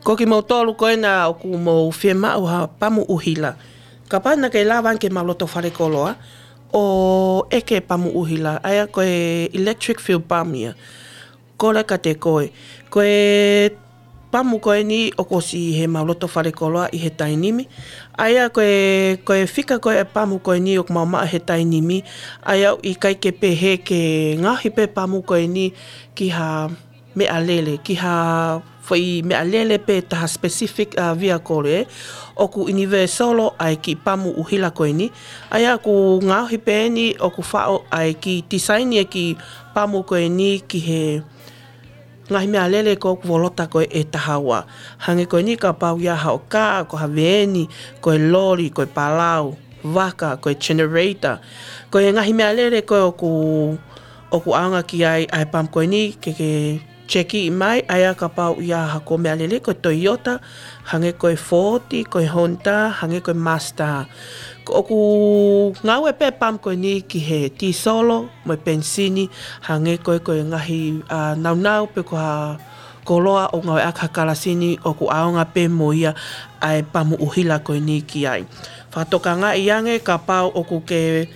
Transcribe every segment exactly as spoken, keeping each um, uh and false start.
Ko kimoutolu ko ena ʻoku mou fiemaʻu ha pamu ʻuhila, kapau naʻa ke lava ange ke mau loto fale koloa ʻo ʻeke pamu ʻuhila, ʻa ia ko e electric fuel pump ia. Kole kiate koe. Ko e pamu ko eni ʻoku ʻosi ʻi he mau loto fale koloa ʻi he taimi ni. ʻA ia ko e, ko e fika ko e pamu ko eni ʻoku mau maʻu he taimi ni. ʻA ia ʻoku ʻikai ke pehē ke ngaohi pē pamu ko eni ki ha meʻalele, ki ha foʻi meʻalele pe taha specific, uh, vehicle, ē. ʻOku universal ʻa e kiʻi pamu ʻuhila ko eni. ʻA ia ʻoku ngaohi pē eni, ʻoku faʻo ʻa e kiʻi tisaini e kiʻi pamu ko eni ki he ngaahi meʻalele ko ē ʻoku volota ko ē ʻe taha ua. Hangē ko eni kapau ʻe ʻi ai haʻo kā, ko ha veeni, ko e loli, ko e palau, vaka, ko e generator. Ko e ngaahi meʻalele ko ē ʻoku, ʻoku ʻaonga ki ai ʻa e pamu ko eni ke ke check mai, ʻa ia kapau ʻe ʻi ai haʻaku meʻalele ko e Toyota, hangē ko e Ford, ko e Honda, hangē ko e Mazda. Ko ʻoku ngāue pē pamu ko eni ki he tīsolo mo e penisini, hangē ko e, ko e ngaahi, a, naunau pe ko ha koloa ʻoku ngāueʻaki ha kalasi ni ʻoku ʻaonga pē mo ia ʻa e pamu ʻuhila ko eni ki ai. Fakatokangaʻi ange kapau ʻoku ke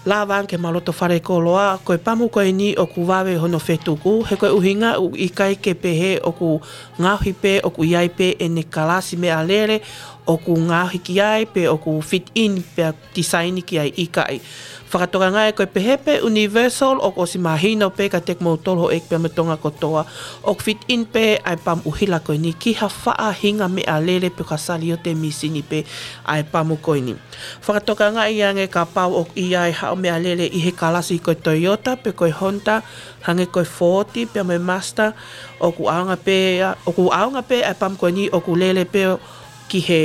lava ange ke mau loto fale koloa, ko e pamu ko eni ʻoku vave hono fetuku, he ko e ʻuhinga ʻoku ʻikai ke pehē ʻoku ngaohi pē ʻoku ʻi ai pē ʻene kalasi meʻalele ʻoku ngaohi ki ai pe ʻoku fit in pea tisaini ki ai, ʻikai. Fakatokangaʻi ko e pehē pē universal ʻoku ʻosi mahino pē kiate kimoutolu houʻeiki pea mo Tonga kotoa, ʻoku fit in pē ʻa e pamu ʻuhila ko eni ki ha faʻahinga meʻalele pe ko ha saliote misini pē ʻa e pamu ko eni. Fakatokangaʻi ange kapau ʻoku ʻi ai haʻo meʻalele ʻi he kalasi ko e Toyota pe ko e Honda, hangē ko e Ford pea mo e Mazda, ʻoku ʻaonga pē, ʻoku ʻaonga pē ʻa e pamu ko eni ʻoku lele pē ki he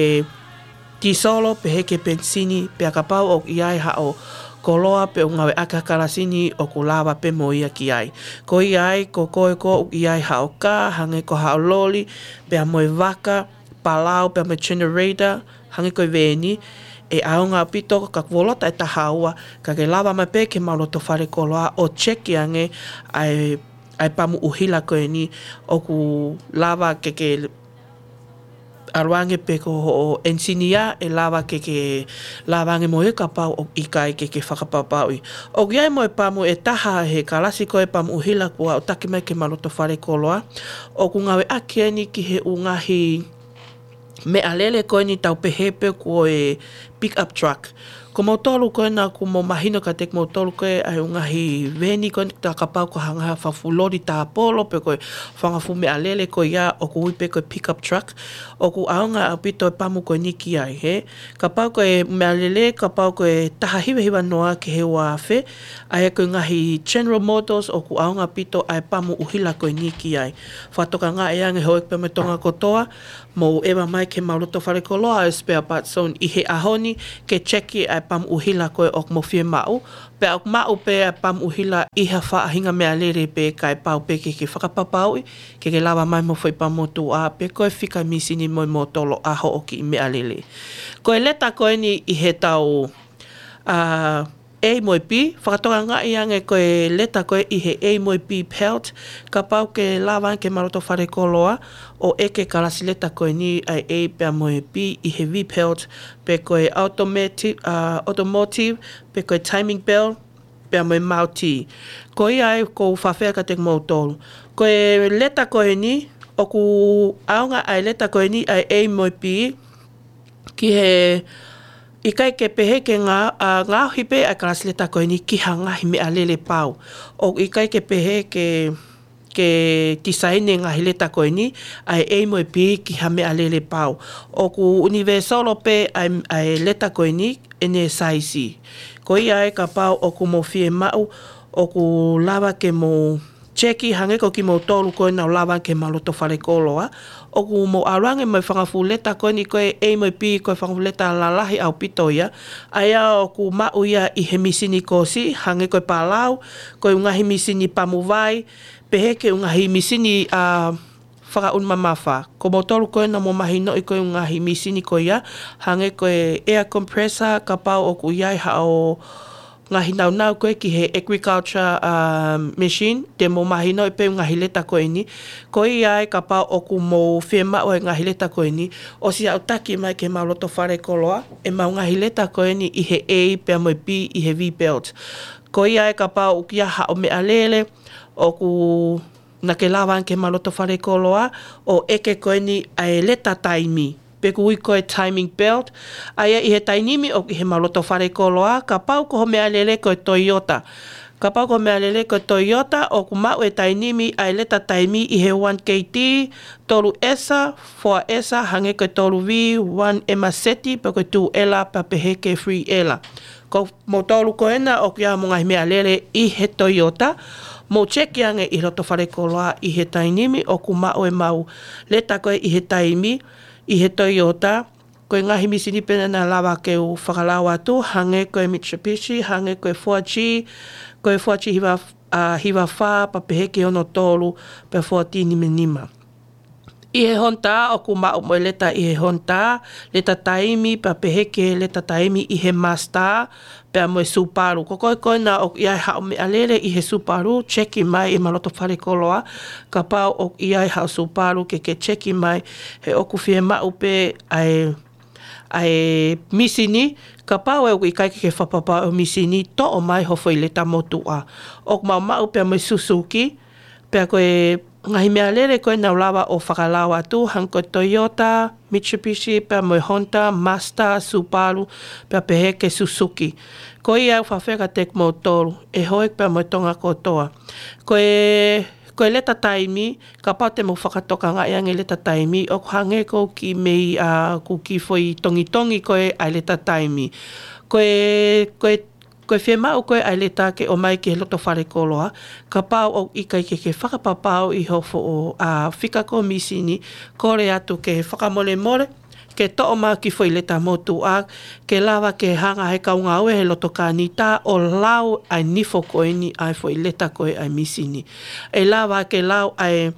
tīsolo pehē ki he penisini, pea kapau ʻoku ʻi ai haʻo koloa pe ʻoku ngāueʻaki ha kalasi ni ʻoku lava pē mo ia ki ai. Ko ia ai, ko koe ko ē ʻoku ʻi ai haʻo kā, hangē ko haʻo loli, pea mo e vaka, palau, pea mo e generator, hangē ko e veeni, ʻe ʻaonga ʻaupito ka ʻoku volota ʻe taha ua, ka ke lava mai pē ke mau loto fale koloa ʻo check ange ʻa e, ʻa e pamu ʻuhila ko eni ʻoku lava ke ke ʻalu ange pe ko hoʻo ʻenisinia ʻe lava ke ke lava ange mo ia kapau ʻoku ʻikai ke ke fakapapauʻi. ʻOku ʻi ai mo e pamu ʻe taha he kalasi ko e pamu ʻuhila kuo aʻutaki mai ke mau loto fale koloa, ʻoku ngāueʻaki eni ki he ʻū ngaahi meʻalele ko eni tau pehē pē ko e pick up truck. Ko moutolu ko ena ʻoku mou mahino kiate kimoutolu ko ē ʻa e ʻū ngaahi veeni ko eni, tā kapau ko ha ngaahi fanga fuʻu loli tāpolo pe ko e fanga fuʻu meʻalele ko ia ʻoku ui pē ko e pick up truck. ʻOku ʻaonga ʻaupito e pamu ko eni ki ai, hē. Kapau ko e meʻalele, kapau ko e taha hiva hiva noa ki he ua afe, ʻa ia ko e ngaahi General Motors ʻoku ʻaonga ʻaupito ʻa e pamu ʻuhila ko eni ki ai. Fakatokangaʻi ange houʻeiki pea mo Tonga kotoa, mou ʻeva mai ke mau loto fale koloa ʻa e Spare Parts Zone ʻi he ʻaho ni ke check ʻa e pamu ʻuhila ko ē ʻoku mou fiemaʻu. Pea ʻoku maʻu pē ʻa e pamu ʻuhila ʻi ha faʻahinga meʻalele pē kae pau pē ke ke fakapapauʻi ke ke lava mai mo e foʻi pamu motuʻa pe ko e fika misini mo e motolo ʻa hoʻo kiʻi meʻalele. Ko e leta ko eni ʻi he tau, a, A mo e B, fakatokangaʻi ange ko e leta ko ē ʻi he A mo e B belt, kapau ke lava ange ke mau loto fale koloa ʻo ʻeke kalasi leta ko eni ʻa e A pea mo e B ʻi he V belt, pe ko e automatic, a, automotive, pe ko e timing belt, pea mo e multi. Ko ia ai ʻoku ou fakaafeʻi kiate kimoutolu. Ko e leta ko eni, ʻoku ʻaonga ʻa e leta ko eni ʻa e A mo e B, ki he ʻikai ke pehē ke ngā-, a, ngaohi pē ʻa e kalasi leta ko eni ki ha ngaahi meʻalele pau. ʻOku ʻikai ke pehē ke, ke tisaini e ngaahi leta ko eni ʻa e A mo e B ki ha meʻalele pau. ʻOku universal pē ʻa e, ʻa e leta ko eni ʻene saisi. Ko ia ai kapau ʻoku mou fiemaʻu, ʻoku lava ke mou cheki hangē ko kimoutolu ko ena ʻoku lava ke mau loto fale koloa. ʻOku mou ʻalu ange mo e fanga fuʻu leta ko eni ko e A mo e B, ko e fanga fuʻu leta lalahi ʻaupito ia. ʻA ia ʻoku maʻu ia ʻi he misini kolosi, hangē ko e palau, ko e ngaahi misini pamu vai, pehē ki he ngaahi misini, a, fakaʻunu mamafa. Ko moutolu ko ena ʻoku mou mahinoʻi ko e ngaahi misini ko ia, hangē ko e air compressor, kapau ʻoku ʻi ai haʻo ngaahi naunau ko ē ki he agriculture, um, machine, te mou mahinoʻi pē ngaahi leta ko eni. Ko ia ai kapau ʻoku mou fiemaʻu e ngaahi leta ko eni, ʻosi aʻutaki mai ki he mau loto fale koloa, e mau ngaahi leta ko eni ʻi he A pea mo e B ʻi he V-belt. Ko ia ai kapau ʻoku ʻi ai haʻo meʻalele, ʻoku naʻa ke lava ange ki he mau loto fale koloa, ʻo ʻeke ko eni ʻa e leta taimi. Pe ʻoku ui ko e timing belt, ʻa ia ʻi he taimi ni ʻoku ʻi he mau loto fale koloa, kapau ko ho meʻalele ko e Toyota. Kapau ko ho meʻalele ko e Toyota, ʻoku maʻu e taimi ʻa e leta taimi ʻi he one K T, tolu S, four S, hangē ko e tolu V, one M Z, pe ko e two L, pea pehē ki he three L. Ko moutolu ko ena ʻoku ʻi ai mo e ngaahi meʻalele ʻi he Toyota, mou checki ange ʻi he loto fale koloa ʻi he taimi ni ʻoku maʻu e mau leta ko ē ʻi he taimi, ʻi he Toyota, ko e ngaahi mīsini pē naʻa lava ke u fakalau atu, hangē ko e Mitsubishi, hangē ko e Fuji, ko e Fuji hiva, ʻa, hiva fā, pea pehē ki he ono tolu, pea fourteen nima nima. ʻI he Honda, ʻoku maʻu mo e leta ʻi he Honda, leta taimi, pea pehē ki he leta taimi ʻi he Mazda, pea mo e Subaru. Ko koe ko ena ʻoku ʻi ai haʻo meʻalele ʻi he Subaru, checki mai ʻi he mau loto fale koloa, kapau ʻoku ʻi ai haʻo Subaru ke ke checki mai, he ʻoku fiemaʻu pē ʻa e, ʻa e mīsini, kapau ʻoku ʻikai ke ke fakapapauʻi e mīsini, toʻo mai ho foʻi leta motuʻa. ʻOku mau maʻu pea mo e Suzuki, pea ko e ngaahi meʻalele ko ē naʻa ku lava ʻo fakalau atu, hangē ko e Toyota, Mitsubishi, pea mo e Honda, Mazda, Subaru, pea pehē ki he Suzuki. Ko ia ʻoku ou fakaafeʻi atu kiate kimoutolu, ʻe hoko pea mo Tonga kotoa. Ko e, ko e leta taimi, kapau te mou fakatokangaʻi ange leta taimi, ʻoku hangē ko e kiʻi meʻa, ʻa, ko e kiʻi foʻi tongitongi ko ē ʻa e leta taimi. Ko e, ko e Ko e fiemaʻu ko ē ʻa e leta ke ʻomai ki he loto fale koloa, kapau ʻoku ʻikai ke ke fakapapauʻi ho foʻi, ʻa, fika ko ē mīsini, kole atu ke fakamolemole, ke toʻo mai ho kiʻi foʻi leta motuʻa, ke lava ke hanga he kau ngāue he loto kānita ʻo lau ʻa e nifo ko eni ʻa e foʻi leta ko ē ʻa e mīsini. ʻE lava ke lau ʻa e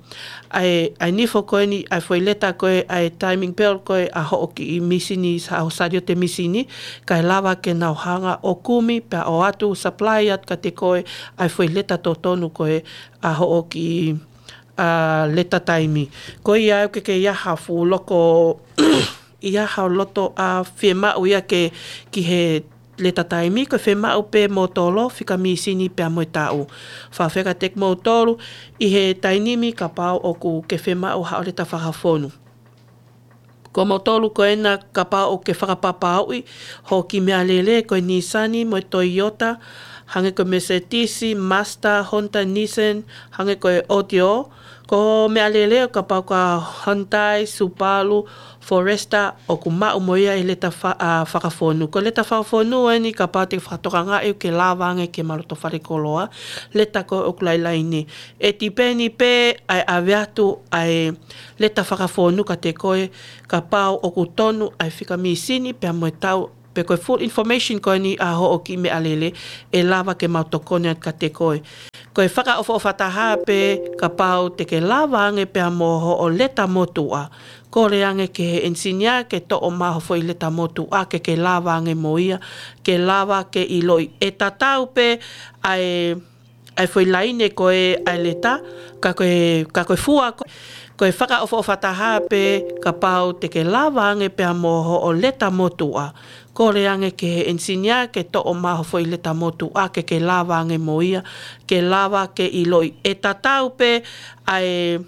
ʻa e, ʻa e nifo ko eni, ʻa e foʻi leta ko ē, ʻa e timing belt ko ē, ʻa hoʻo kiʻi mīsini, sa-, ʻa ho saliote mīsini, kae lava ke nau hanga ʻo kumi, pea ʻoatu, supply atu kiate koe, ʻa e foʻi leta totonu ko ē, ʻa hoʻo kiʻi, ʻa, leta taimi. Ko ia ʻoku ʻikai ke ʻi ai ha fuʻu loko, ʻi ai ha loto, ʻa, fiemaʻu ia ke, ki he leta taimi, ko e fiemaʻu pē moutolu, fika mīsini pea mo e taʻu. Fakaafeʻi atu kiate kimoutolu, ʻi he taimi ni kapau ʻoku ke fiemaʻu haʻo leta fakafonu. Ko moutolu ko ena kapau ʻoku ke fakapapauʻi, ho kiʻi meʻalele, ko e Nissan mo e Toyota, hangē ko e Mercedes, Mazda, Honda, Nissan, hangē ko e Audio, ko e meʻalele ʻo kapau ko e Hyundai, Subaru, Forester, ʻoku maʻu mo ia e leta fa-, ʻa, fakafonu. Ko e leta fakafonu eni kapau te ke fakatokangaʻi ʻoku ke lava ange ki he mau loto fale koloa, leta ko ē ʻoku lailai ni. ʻE tipeni pē ʻa e ʻave atu ʻa e leta fakafonu kiate koe, kapau ʻoku tonu ʻa e fika mīsini pea mo e taʻu, pe ko e full information ko eni ʻa hoʻo kiʻi meʻalele, ʻe lava ke mau tokoni atu kiate koe. Ko e fakaʻofoʻofa taha pē kapau te ke lava ange pea mo hoʻo leta motuʻa, kole ange ki he enisinia ke toʻo mai ho foʻi leta motuʻa ke ke lava ange mo ia, ke lava ke ʻiloʻi. ʻE tatau pē ʻa e, ʻa e foʻi laine ko ē ʻa e leta, ka ko e, ka ko e fua ko, ko e fakaʻofoʻofa taha pē kapau te ke lava ange pea mo hoʻo leta motuʻa, kole ange ki he enisinia ke toʻo mai ho foʻi leta motuʻa ke ke lava ange mo ia, ke lava ke ʻiloʻi. ʻE tatau pē ʻa e,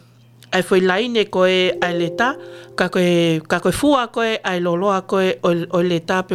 ʻa e foʻi laine ko ē ʻa e leta, ka ko e, ka ko e fua ko ē ʻa e loloa ko ē ʻo, ʻo e leta pe